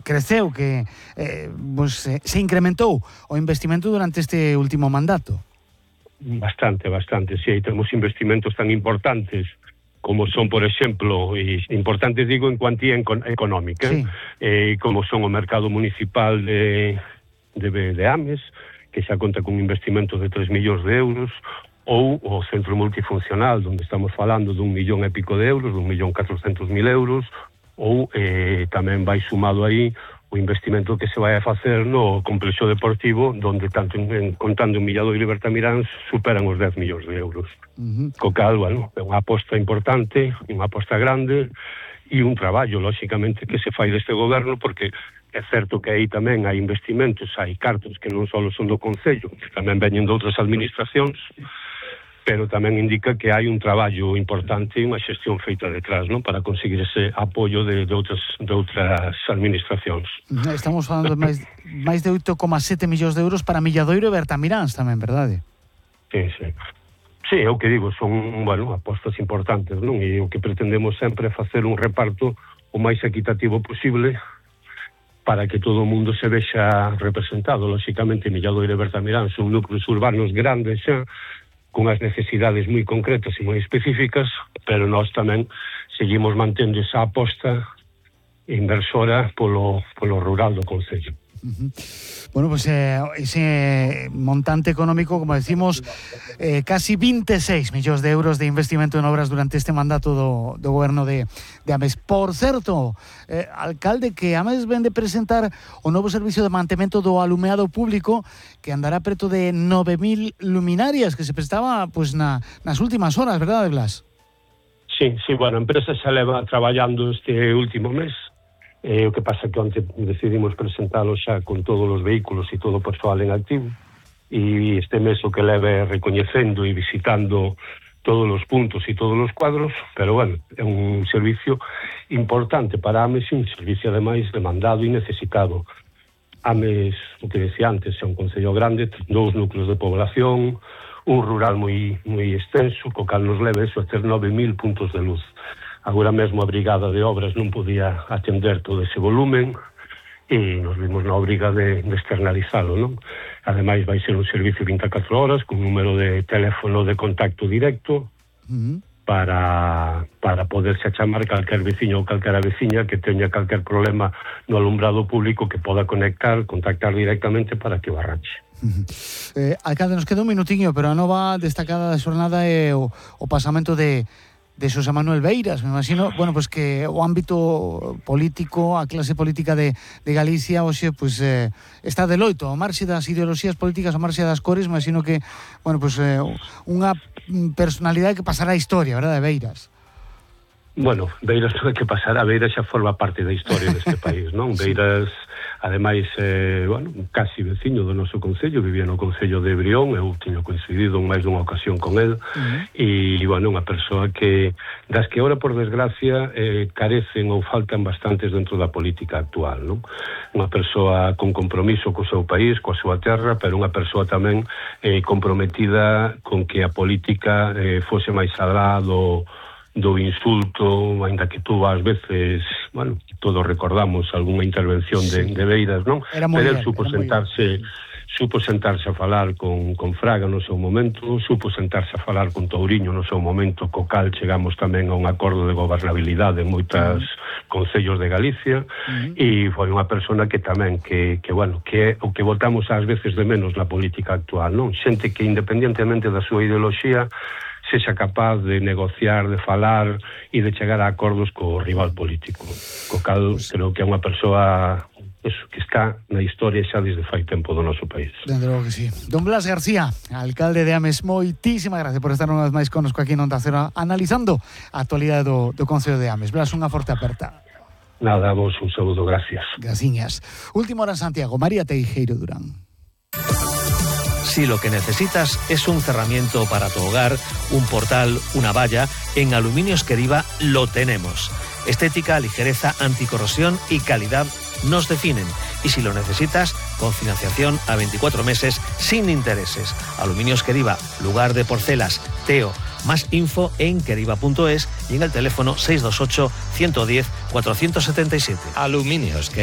creceu, que se incrementou o investimento durante este último mandato. Bastante, sí, aí temos investimentos tan importantes como son, por exemplo, importantes digo en cuantía económica, sí. Como son o mercado municipal de Ames, que xa conta con investimento de 3 millóns de euros, ou o centro multifuncional, onde estamos falando de 1 millón e pico de euros, 1.400.000 euros, ou tamén vai sumado aí o investimento que se vai a facer no complexo deportivo, donde tanto contando en Milladoiro e Bertamirán superan os 10 millóns de euros. Co cal, bueno, é unha aposta importante, unha aposta grande e un traballo, lóxicamente, que se fai deste goberno, porque é certo que aí tamén hai investimentos, hai cartos que non só son do Concello, que tamén veñen de outras administracións, pero tamén indica que hai un traballo importante e unha xestión feita detrás, non, para conseguir ese apoio de outras administracións. Estamos falando de máis de 8,7 millóns de euros para Milladoiro e Bertamiráns tamén, verdade? Sí. Sí, é o que digo, son, bueno, apostas importantes, non? E o que pretendemos sempre é facer un reparto o máis equitativo posible para que todo o mundo se vexa representado. Lóxicamente, Milladoiro e Bertamiráns son núcleos urbanos grandes xa, con as necesidades moi concretas e moi específicas, pero nós tamén seguimos mantendo esa aposta inversora polo rural do Concello. Bueno, pues ese montante económico, como decimos, casi 26 millóns de euros de investimento en obras durante este mandato do goberno de Ames. Por certo, alcalde, que Ames ven de presentar o novo servicio de mantemento do alumeado público, que andará preto de 9.000 luminarias, que se prestaba pues nas últimas horas, verdade, Blas? Sí, bueno, a empresa xa leva traballando este último mes. O que pasa que onte decidimos presentalo xa con todos os vehículos e todo o persoal en activo, e este mes o que leve recoñecendo e visitando todos os puntos e todos os cuadros, pero bueno, é un servicio importante para Ames, un servicio ademais demandado e necesitado. Ames, o que decía antes, é un concello grande, 2 núcleos de población, un rural moi extenso, co cal nos leva eso a ter 9.000 puntos de luz. Agora mesmo a Brigada de Obras non podía atender todo ese volumen e nos vimos na obriga de externalizalo, non? Ademais vai ser un servicio 24 horas con número de teléfono de contacto directo para poderse chamar calquer veciño ou calquera veciña que teña calquer problema no alumbrado público, que poda contactar directamente para que o arranxe. Alcalde, nos queda un minutiño, pero a nova destacada da xornada é o pasamento de Xosé Manuel Beiras. Me imagino, bueno, pues que o ámbito político, a clase política de Galicia hoxe pues está de loito, ao marxe das ideoloxías políticas, ao marxe das cores. Me imagino que, bueno, pues unha personalidade que pasará a historia, verdade, Beiras? Bueno, Beiras non é que pasará, Beiras xa forma parte da historia deste país, non? Sí. Beiras, ademais, bueno, casi veciño do noso concello, vivía no concello de Brión, eu tiño coincidido en máis dunha ocasión con el, e, bueno, unha persoa que, das que ahora, por desgracia, carecen ou faltan bastantes dentro da política actual, non? Unha persoa con compromiso co seu país, coa súa terra, pero unha persoa tamén comprometida con que a política fose máis alá do insulto, ainda que tú ás veces, bueno, todos recordamos algunha intervención de Beiras, non? Pero el supo sentarse a falar con Fraga no seu momento, supo sentarse a falar con Touriño no seu momento, co cal chegamos tamén a un acordo de gobernabilidade en moitas concellos de Galicia, e foi unha persona que tamén, que bueno, que é o que votamos ás veces de menos na política actual, non? Xente que independentemente da súa ideoloxía sexa capaz de negociar, de falar e de chegar a acordos co rival político. Co cal, creo que é unha persoa que está na historia xa desde fai tempo do noso país. Dende logo que sí. Don Blas García, alcalde de Ames, moitísimas gracias por estar unha vez máis connosco aquí en Onda Cero, analizando a actualidade do Concello de Ames. Blas, unha forte aperta. Nada, vos un saludo, gracias. Graciñas. Última hora en Santiago, María Teijeiro Durán. Si lo que necesitas es un cerramiento para tu hogar, un portal, una valla, en Aluminios Queriva lo tenemos. Estética, ligereza, anticorrosión y calidad nos definen. Y si lo necesitas, con financiación a 24 meses sin intereses. Aluminios Queriva, lugar de porcelas, Teo. Más info en queriva.es y en el teléfono 628 110 477. Aluminios Queriva.